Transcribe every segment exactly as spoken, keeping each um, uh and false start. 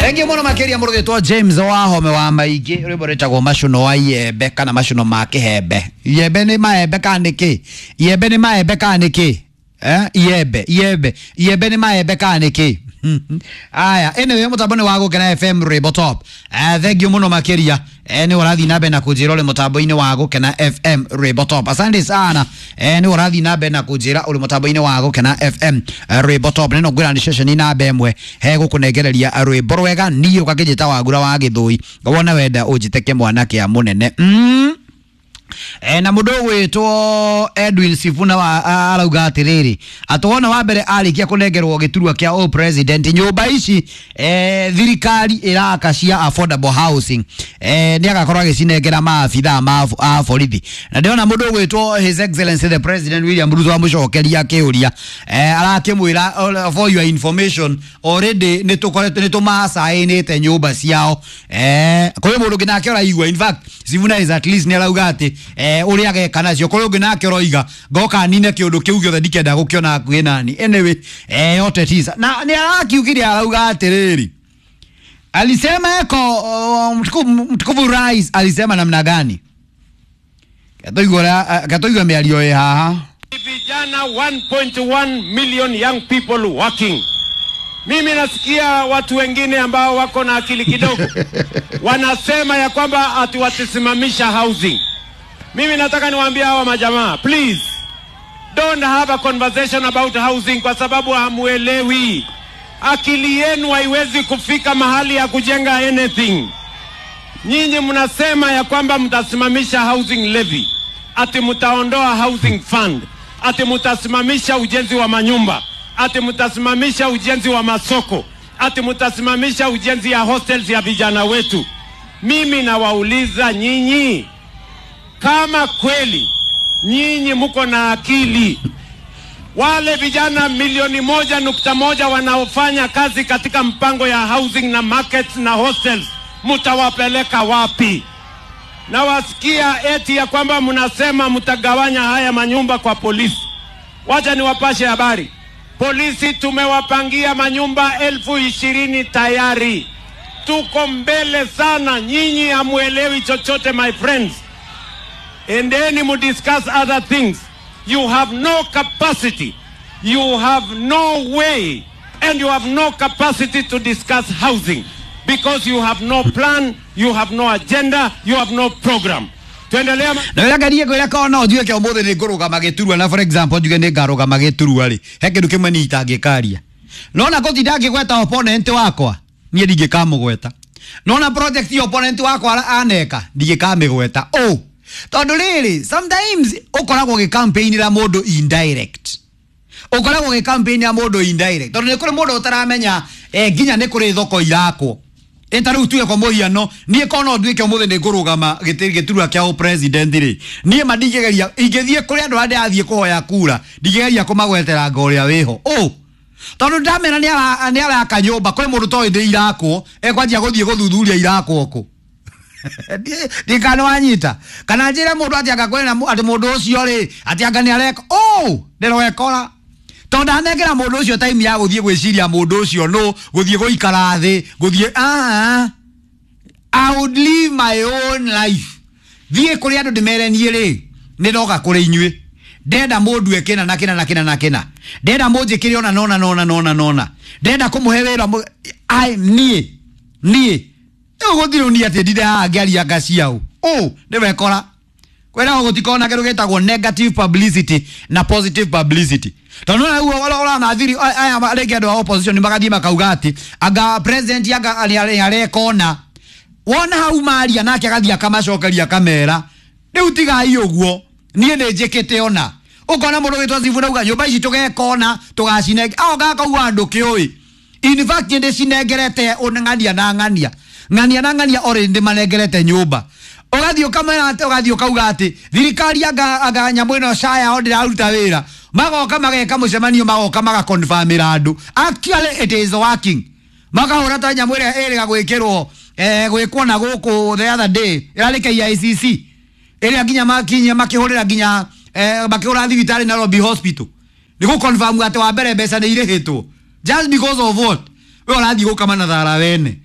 Thengiũ mũno makĩria mũrũgĩtwo James Wahome wa Maingĩ, rwĩmbo rwĩtagwo macuno wa iembe kana macuno ma kĩhembe. Iembe nĩ maembe kana nĩ kĩ? Iembe nĩ maembe kana nĩ kĩ? Eh, iembe iembe iembe nĩ maembe kana nĩ kĩ? Aya, anyway, mũtambo nĩ wa Gũkena F M Rwĩmbo Top. Eh, thengiũ mũno makĩria. Eh, nĩ ũrathiĩ na mbere na kũnjĩra ũrĩ mũtambo-inĩ wa Gũkena F M Rwĩmbo Top. Asante sana. Eh, nĩ ũrathiĩ na mbere na kũnjĩra ũrĩ mũtambo-inĩ wa Gũkena F M Rwĩmbo Top. Nĩ no ngwĩra nĩ ceceni namba ĩmwe he gũkũnengereria rwĩmbo rwega, niĩ ũgakĩnjĩta Wagura wa Gĩthũi, wona wenda ũnjĩte kĩmwana kĩa mũnene. Mm. E, na mundu gwitwo Edwin Sifuna wa arauga atiriri atwona wa mbere arikia kunengerwo giturwa kia o president nyumba ici e, thirikari iraka cia affordable housing e, ni agakorwo agicinengera maabithaa ma a borithi. Na ndiona mundu gwitwo His Excellency the President William Ruto amucokeria kiuria e, arakimwira for your information already ni tukoretwo ni tumacainite nyumba ciao e, kuri mundu nginake oraigua. In fact Sifuna is at least ni arauga ati eh uria ageka nacio kuri ungi nake uroiga ngoka nine kiundu kiu giothe ndikenda gukiona hakuhi nani. Anyway, eh yote tisa na ni arakiugire arauga atiriri alisema eko mtukufu mtukufu rais alisema namna gani? Katoigwa katoigwa miario ye haha. Vijana one point one million young people working. Mimi nasikia watu wengine ambao wako na akili kidogo wanasema ya kwamba ati watasimamisha housing. Mimi nataka niwaambie hawa majamaa, please don't have a conversation about housing kwa sababu hamuelewi. Akili yenu haiwezi kufika mahali ya kujenga anything. Nyinyi mnasema ya kwamba mtasimamisha housing levy, ati mtaondoa housing fund, ati mtasimamisha ujenzi wa manyumba, ati mtasimamisha ujenzi wa masoko, ati mtasimamisha ujenzi ya hostels ya vijana wetu. Mimi nawauliza nyinyi, kama kweli nyinyi mko na akili, wale vijana milioni moja nukta moja wanaofanya kazi katika mpango ya housing na markets na hostels, mtawapeleka wapi? Na wasikia eti ya kwamba mnasema mtagawanya haya manyumba kwa polisi. Wacha niwapashe habari. Polisi tumewapangia manyumba elfu ishirini tayari. Tuko mbele sana, nyinyi hamuelewi chochote my friends. Endeni mu discuss other things. You have no capacity. You have no way. And you have no capacity to discuss housing. Because you have no plan, you have no agenda, you have no program. Tuendelea. Na wira ngarie ngwira ko no njuge ke umuthi ni ngurugama giturwa na for example njuge ni ngarugama giturwa ri he kindu kimwe ni itangikaria. Nona gutinda ngigweta opponent wakwa nie ndingikamugweta. Nona project ya opponent wakwa aneka ndingikamigweta. Oh, tondu riri sometimes ukoragwo gi-campaign-ira mundu indirect. Ukoragwo gi-campaign-ira mundu indirect tondu ni kuri mundu utaramenya eh nginya ni kuri thoko irakwo. Eta riu tuge kwa muhiano nie kono nduike umuthi ni ngurugama giturwa kia president ri nie ma ndingigeria ingithie kuri andu aria ndathie kuhoya kura ndingigeria kumagwetera ngo uria wiho. Oh, tondu ndamera ni ara ni araka nyumba kuri mundu toi ndi irakwo ekwanjia guthie guthuthuria irakwo ku ndikana wanyita kana njire mundu ati anga kwina ati mundu ucio ri ati anga ni areka. Oh, ndirwekora tondu anengera mundu ucio time ya guthie gwiciria mundu ucio no guthie guikara thi guthie ah I would live my own life. Thie kuri andu ndimere nie ri ni ndoka kuri inyui ndenda mundu ekina na kina na kina na kina ndenda munjikire ona nona nona nona nona ndenda kumuhe wira ai nie nie uguthirwo ni ati ndire haha ngiaria nga ciao. Oh, niwekora kwira gutikona kindu gitagwo negative publicity na positive publicity. Tondu na uguo urona thiri aya ringi andu a opposition magathie makauga ati anga president anga arekona wona hau maria nake agathie akamacokeria kamera riu tigai uguo nie ni njikite ona ukona mundu witwa Sifuna uga nyumba ici tugekona tugacinenge ao gakauga andu kiui. In fact ndi cinengerete ng'ania na ng'ania ng'ania na ng'ania ori ndi manengerete nyumba ugathie ukamera ati ugathie ukauga ati thirikari anga anga nyamu ino caya o ndiraruta wira magoka mageka mucemanio magoka magaconfirmira andu actually it is working makahura ta nyamu ira iriga gwikirwo eh gwikwo na guku the other day irari K I C C ira nginya makinya makihurira nginya eh makihura thibitari Nairobi Hospital ni gu confirm ati wa mbere mbeca ni irihitwo just because of what we urathie gukama na thara wene.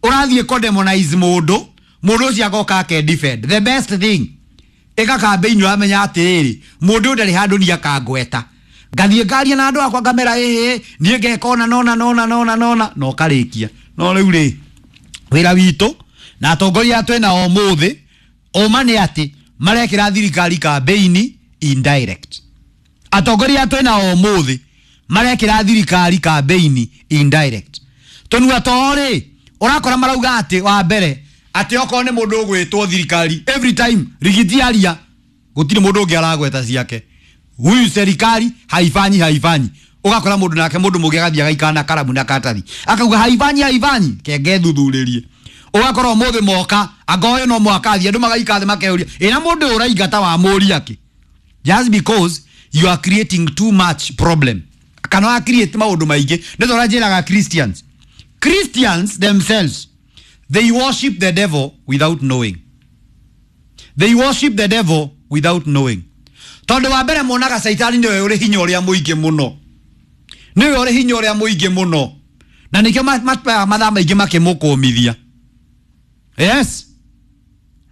Ũrathiĩ kũ demonize mũndũ, mũndũ ũcio agoka ake defend. The best thing, ĩka campaign ũramenya atĩrĩrĩ, mũndũ ũyũ ndarĩ handũ niĩ akangweta. Ngathiĩ ngaria na andũ akwa ngamera ĩhĩ, niĩ ngeka ona nona nona nona nona na ũkarĩkia. No rĩu rĩ, wĩra witũ na atongoria twĩna ũmũthĩ, ũma nĩ atĩ marekĩra thirikari campaign indirect. Atongoria twĩna ũmũthĩ marekĩra thirikari campaign indirect. Tũnua too rĩ, ũrakora marauga atĩ wa mbere atĩ okorwo nĩ mũndũ ũgwĩtwo thirikari every time Rigiji aria gũtirĩ mũndũ ũngĩ aragweta ciake. Huyu serikali haifanyi haifanyi. Ũgakora mũndũ nake mũndũ mũngĩ agathiĩ agaikara na karamu na karatathi akauga haifanyi haifanyi, kenge thuthurĩrie. Ũgakora ũmũthĩ moka anga ũyũ no mũhaka athiĩ, andũ magaikara thĩ makeyũria ĩna mũndũ ũyũ ũraingata wa mũria kĩ? Just because you are creating too much problem. Kana wa create maũndũ maingĩ. Nĩ ta ũrĩa njĩraga Christians. Christians themselves, they worship the devil without knowing. They worship the devil without knowing. Tondũ wa mbere monaga Saitani nĩwe ũrĩ hinya ũrĩa mũingĩ mũno. Nĩwe ũrĩ hinya ũrĩa mũingĩ mũno. Na nĩkĩo mathaa maingĩ makĩmũkũmithia. Yes.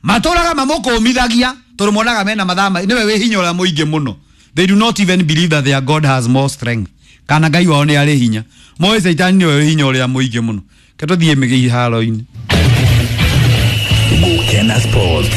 Matũraga mamũkũmithagia tondũ monaga mena mathaa maingĩ, nĩwe wĩ hinya ũrĩa mũingĩ mũno. They do not even believe that their God has more strength. Kana Ngai wao nĩ arĩ hinya. Moĩ Saitani nĩwe wĩ hinya ũrĩa mũingĩ mũno. Ke tũthiĩ mĩharo-inĩ. Gukena Sports.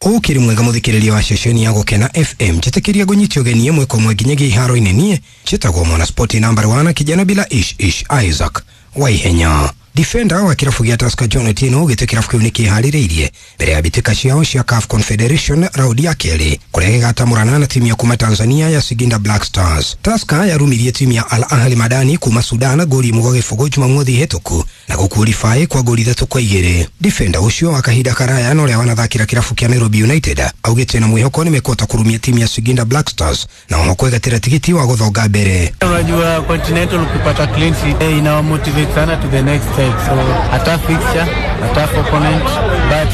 Ukiri mwega muthikiriria wa ceceni ya Gukena F M, njitikiria ngunyitio ũgeni ĩmwe kwa ĩmwe nginyagia iharo-inĩ. Niĩ njĩtagwo Mwana Sport number one, kijana bila ish ish Isaac Waihenya. Defender wa kirabu gĩa Tusker John Otieno gĩtĩ kirabu kĩu nĩkĩharĩrĩirie mbere ya mbĩtĩka ciao cia C A F Confederation raundi ya kerĩ kũrĩa gĩgatamũrana na timu ya kuma Tanzania ya Singida Black Stars. Tusker yarumirie timu ya Al Ahly Madani kuma Sudan goli ĩmwe gwa gĩbũgũ Jumamothi hĩtũku na gũkuorify kwa goli ithatũ kwa igĩrĩ. Defender ũcio wa kahinda karaya na ũrĩa wanathakĩra kirabu kĩa Nairobi United augĩte na mwĩhoko nĩmekũhota kũrumia timu ya Singida Black Stars na oho kwĩgatĩra tigiti wa gũthonga mbere. Unajua Continental ukipata clean sheet ina motivate sana to the next step. So a tough fixture, a tough opponent, but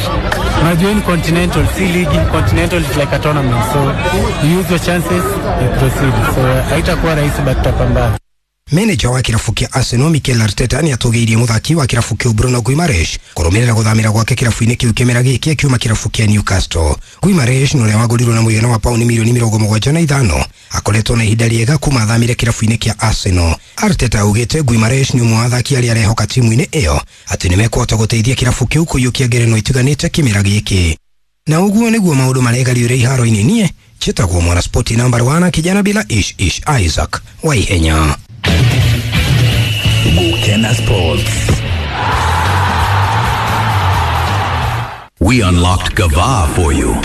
unajua in Continental, si league, Continental is like a tournament, so you use your chances, you proceed. So haitakuwa rahisi but tutapambana. Manager wa kirabu kĩa Arsenal Mikel Arteta nĩatũgĩirie mũthaki wa kirabu kĩu Bruno Guimaraes kũrũmĩrĩra gũthamĩra gwake kirabu-inĩ kĩu kĩmera gĩkĩ akiuma kirabu kĩa Newcastle. Guimaraes nĩ ũrĩa wagũrirwo na mũigana wa pauni mirioni mĩrongo mũgwanja na ithano akoretwo na ihinda rĩega kuma athamĩre kirabu-inĩ kĩa Arsenal. Arteta augĩte Guimaraes nĩ ũmwe wa athaki arĩa arehoka timu-inĩ ĩyo atĩ nĩmekũhota gũteithia kirabu kĩu kũiyũkia ngerenwa itiganĩte kĩmera gĩkĩ. Na ũguo nĩguo maũndũ maregariũre iharo-inĩ. Niĩ njĩtagwo Mwana Sport number one, kijana bila ish ish Isaac Waihenya. Gukena Sports. We unlocked Gava for you.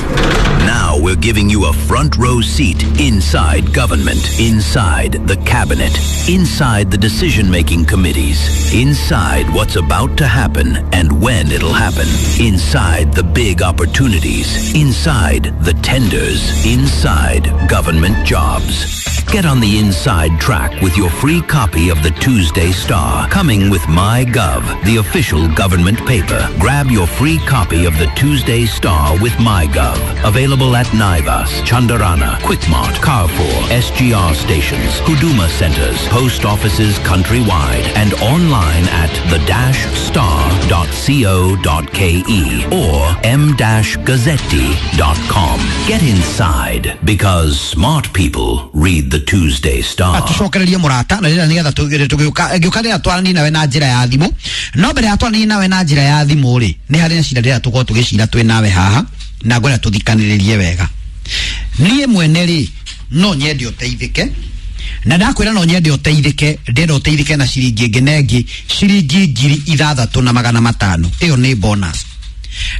Now we're giving you a front row seat inside government, inside the cabinet, inside the decision-making committees, inside what's about to happen and when it'll happen, inside the big opportunities, inside the tenders, inside government jobs. Get on the inside track with your free copy of the Tuesday Star, coming with MyGov, the official government paper. Grab your free copy of the Tuesday Star with MyGov. Available at Naivas, Chandarana, Quickmart, Carrefour, S G R stations, Huduma centers, post offices countrywide, and online at the dash star dot co dot ke or m dash gazzetti dot com. Get inside, because smart people read the Tuesday Star. Atucokererie murata na rĩrĩa nĩgetha tũgĩũka ngĩũka rĩrĩa twaranie nawe na njĩra ya thimũ. No mbere ya twaranie nawe na njĩra ya thimũ rĩ, nĩ harĩ na cira rĩrĩa tũkorwo tũgĩcira twĩ nawe haha na ngwenda tũthikanĩrĩrie wega. Niĩ mwene rĩ, no nyende ũteithĩke, na ndakwĩra no nyende ũteithĩke, ndĩrenda ũteithĩke na ciringi ĩngĩ na ĩngĩ, ciringi ngiri ithathatũ na magana matano. Ĩyo nĩ bonus.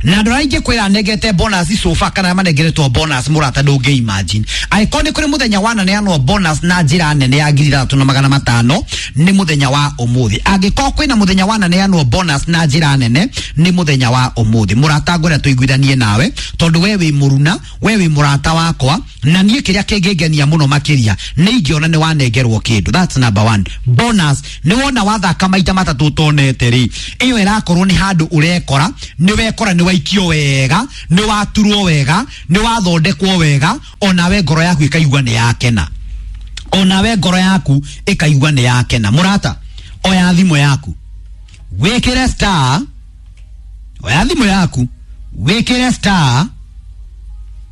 Na andũ arĩa ingĩkwĩra nengete bonus sofa kana manengeretwo bonus mũrata ndũngĩ imagine. Angĩkorwo nĩ kũrĩ mũthenya wananeanwo bonus na njĩra nene ya ngiri ithathatũ na magana matano, nĩ mũthenya wa ũmũthĩ. Angĩkorwo kwĩna mũthenya wananeanwo bonus na njĩra nene, nĩ mũthenya wa ũmũthĩ. Mũrata ngwenda tũiguithanie nawe, tondũ we wĩ mũruna, we wĩ mũrata wakwa, na niĩ kĩrĩa kĩngĩngenia mũno makĩria nĩ ingĩona nĩ wanengerwo kĩndũ. That's number one. Bonus nĩ wona wathaka maita matatũ ũtonete rĩ, ĩyo ĩrakorwo nĩ handũ ũrekora, nĩ wekora nĩ waikio wega, nĩ waturwo wega, nĩ wathondekwo wega, onawe ngoro yaku ĩkaigua nĩ yakena. Onawe ngoro yaku ĩkaigua nĩ yakena. Mũrata, Oya thimũ yaku wĩkĩre star, oya thimũ yaku wĩkĩre star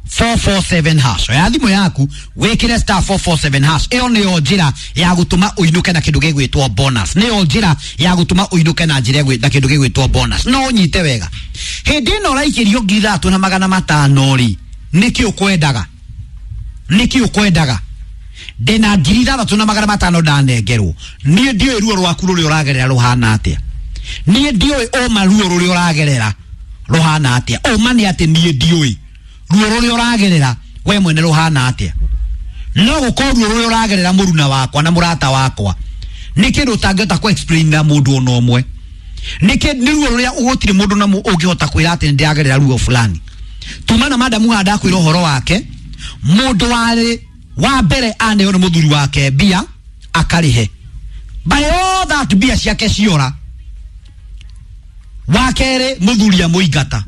four four seven hash. Oya thimũ yaku wĩkĩre star four four seven hash. Ĩyo nĩyo njĩra ya gũtũma ũinũke na kĩndũ gĩgwĩtwo bonus. Nĩyo njĩra ya gũtũma ũinũke na njĩra na kĩndũ gĩgwĩtwo bonus. No ũnyite wega, hĩndĩ ĩno ũraikĩrio ngiri ithatũ na magana matano rĩ, nĩkĩ ũkwendaga? Nĩkĩ ũkwendaga? Ndĩna ngiri ithathatũ na magana matano ndanengerwo. Niĩ ndiũĩ ruo rwaku rũrĩa ũragerera rũhana atĩa. Niĩ ndiũĩ ũma ruo rũrĩa ũragerera rũhana atĩa. Ũma nĩ atĩ niĩ ndiũĩ ruo rũrĩa ũragerera we mwene rũhana atĩa. No gũkorwo ruo rũrĩa ũragerera mũruna wakwa na mũrata wakwa nĩ kĩndũ ũtangĩhota kũ explain na mũndũ ona ũmwe. Nĩ kĩ nĩ ruo rũrĩa gũtirĩ mũndũ na ũngĩhota kwĩra atĩ nĩndĩragerera ruo fulani. Tuma na madamu haha ndakwĩra ũhoro wake, mũndũ warĩ wa mbere aneo nĩ mũthuri wake mbia akarĩhe, by all that mbia ciake ciora. Wa kerĩ mũthuri amũingata.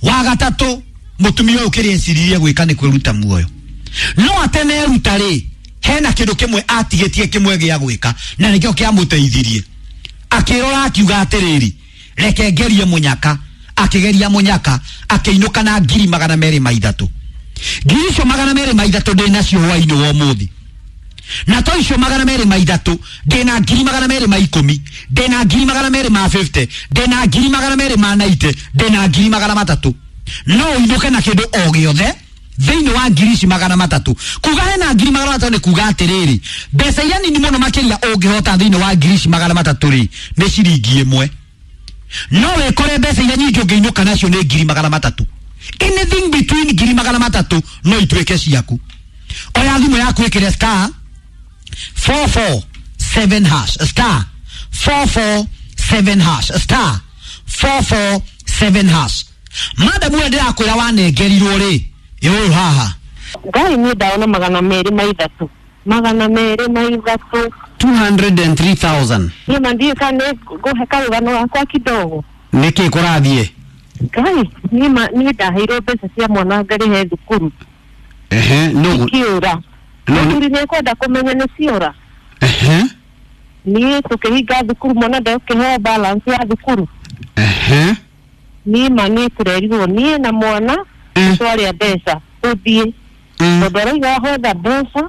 Wa gatatũ mũtumia ũyũ kĩrĩa eciririe gwĩka nĩ kwĩruta muoyo. No ateneruta rĩ, hena kĩndũ kĩmwe atigĩtie kĩmwe gĩa gwĩka na nĩkĩo kĩamũteithirie. Akĩrora akiuga atĩrĩrĩ, reke ngerie mũnyaka. Akĩgeria mũnyaka akĩinũka na ngiri magana merĩ ma ithatũ. Ngiri icio magana merĩ ma ithatũ ndĩ nacio hwainĩ wa ũmũthĩ. Na to icio magana merĩ ma ithatũ ndĩ na ngiri magana merĩ ma ikũmi, ndĩ na ngiri magana merĩ ma fifty, ndĩ na ngiri magana merĩ ma ninety, ndĩ na ngiri magana matatũ. No ũinũke na kĩndũ o gĩothe thĩinĩ wa ngiri ici magana matatũ. Kuga hena ngiri magana matatũ nĩ kuga atĩrĩrĩ, mbeca iria nini mũno makĩria ũngĩhota thĩinĩ wa ngiri ici magana matatũ rĩ, nĩ ciringi ĩmwe. No wĩkore mbeca iria nyingĩ ũngĩinũka nacio nĩ ngiri magana matatũ. Anything between ngiri magana matatũ no ituĩke ciaku. Oya thimũ yaku ĩkĩre star four four seven hash, star four four seven hash, star four four seven hash. Madamu ũyũ ndĩrakwĩra wanengerirwo rĩ, ĩ ũyũ haha. Ngai niĩ ndaona magana merĩ ma ithatũ, magana merĩ ma ithatũ, two hundred and three thousand. Niĩ ma ndiũĩ kana nĩ ngũhe karũgano gakwa kidogo. Nĩkĩ kũrathiĩ? Ngai niĩ ma niĩ ndaheirwo mbeca cia mwana ngarĩhe thukuru. Ehe, no ikiũra. Mũthuri nĩekwenda kũmenya nĩ ciora. Ehe. Niĩ tũkĩhinga thukuru mwana ndekũheo balance ya thukuru. Ehe. Niĩ ma niĩ tũrerirwo niĩ na mwana twarĩa mbeca tũthiĩ. Tondũ arauga wahotha mbeca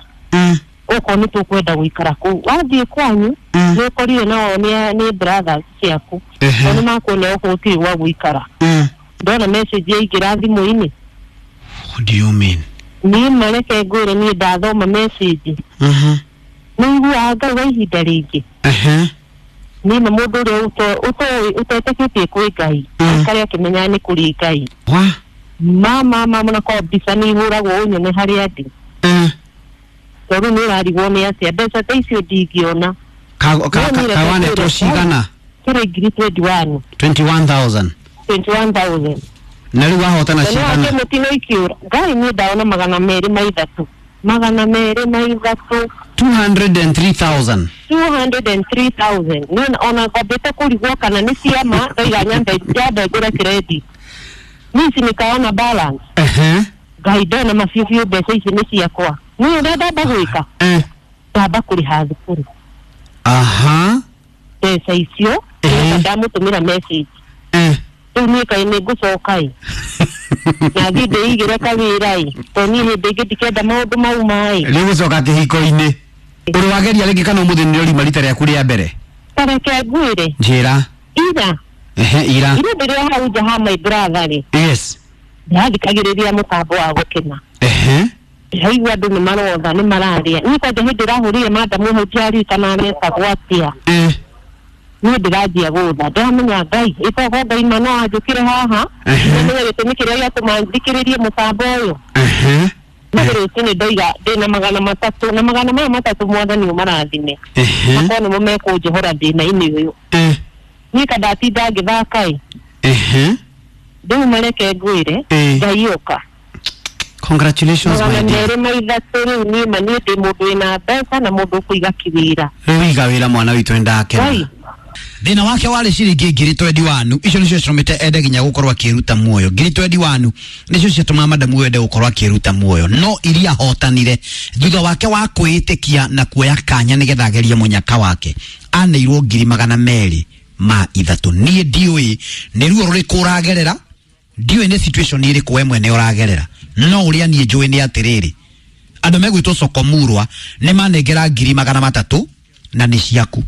okorwo nĩ tũkwenda gũikara kũu. Wathiĩ kwanyu nĩ ũkorire nao nĩ brothers ciaku. Tondũ nĩ makuona gũkũ gũtirĩ gwa gũikara. Ndona message yaingĩra thimũ-inĩ. What do you mean? Niĩ mareke ngwĩre niĩ ndathoma message. Mhm. Nĩ iguaga Ngai wa ihinda rĩngĩ. Ehe. Niĩ na mũndũ ũrĩa ũtoĩ ũtetĩkĩtie kwĩ Ngai aikare akĩmenyaga nĩ kũrĩ Ngai. Wa? Mama mama na kwa mbica nĩ ihũragwo ũnyone harĩa ndĩ. Tondũ nĩ ũrarigwo nĩ atĩa mbeca ta icio ndingĩona. Kawanetwo cigana? Kĩrĩ ngiri twenty one. twenty one thousand. twenty one thousand. Na rĩu wahotana cigana? Mũtino ikiũra. Ngai niĩ ndaona magana merĩ ma ithatũ. Magana merĩ ma ithatũ. two hundred and three thousand. two hundred and three thousand. Niĩ ona ngwambĩte kũrigwo kana nĩ ciama ndaiga nyambe nyambe ngũre credit. Niĩ ici nĩkaona balance. Ehe. Ngai ndona mabiũ biũ mbeca ici nĩ ciakwa. Niĩ ũrĩa ndamba gwĩka? Eh. Ndamba kũrĩha thukuru. Aha. Mbeca icio ndamũtũmĩra message. Eh. Rĩu niĩ kaĩ nĩ ngũcoka ĩ. Na thiĩ ndĩigĩre kawĩra ĩ. Tondũ niĩ hĩndĩ ĩngĩ ndikenda maũndũ mau ma ĩ. Rĩu gũcoka kĩhiko-inĩ. Ũrĩ wageria rĩngĩ kana ũmũthĩ nĩrĩo rima rita rĩaku rĩa mbere? Ta reke ngwĩre. Njĩra. Ira. Ehe, ira. Ira ndĩrĩ o hau nja ha my brother rĩ. Yes. Ndĩrathikagĩrĩria mũtambo wa gũkena. Ehe. Ndĩraigua andũ nĩ marotha nĩ mararia. Niĩ kwanja hĩndĩ ĩrahũrire madamu hau ndiaririkana aretagwo atĩa. Eh. Niĩ ndĩranjia gũtha. Ndĩramenya Ngai, ĩkorwo Ngai ma no anjũkĩre haha. Nĩmenya gĩtũmi kĩrĩa gĩatũma thikĩrĩrie mũtambo ũyũ. Ehe. No rũcinĩ ndoiga ndĩna magana matatũ na magana maya matatũ mwathani ũmarathime. Ehe. Makorwo nĩmo mekũnjohora thĩna-inĩ ũyũ. Eh. Niĩ ka ndatinda ngĩthaka ĩ. Ehe. Rĩu mareke ngwĩre Ngai ũka. Congratulations my dear. Magana merĩ ma ithatũ rĩu niĩ ma niĩ ndĩ mũndũ wĩna mbeca na mũndũ ũkũiga kĩwĩra. Rĩu iga wĩra mwana witũ nĩndakena. Thĩna wake warĩ ciringi ngiri twendi wanu. Icio nĩcio citũmĩte ende nginya gũkorwo akĩruta muoyo. Ngiri twendi wanu nĩcio ciatũmaga madamu ũyũ ende gũkorwo akĩruta muoyo, no iria ahotanire thutha wake wa kwĩĩtĩkia na kuoya kanya nĩgetha agerie mũnyaka wake, aneirwo ngiri magana merĩ ma ithatũ. Niĩ ndiũĩ nĩ ruo rũrĩkũ ũragerera, ndiũĩ nĩ situation ĩrĩkũ we mwene ũragerera, no ũrĩa niĩ njũĩ nĩ atĩrĩrĩ, andũ megwĩtwo Sokomurwa nĩ manengera ngiri magana matatũ na nĩ ciaku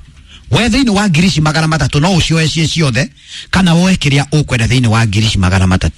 we. Thĩinĩ wa ngiri ici magana matatũ no ũcioe ciĩ ciothe kana woe kĩrĩa ũkwenda thĩinĩ wa ngiri ici magana matatũ.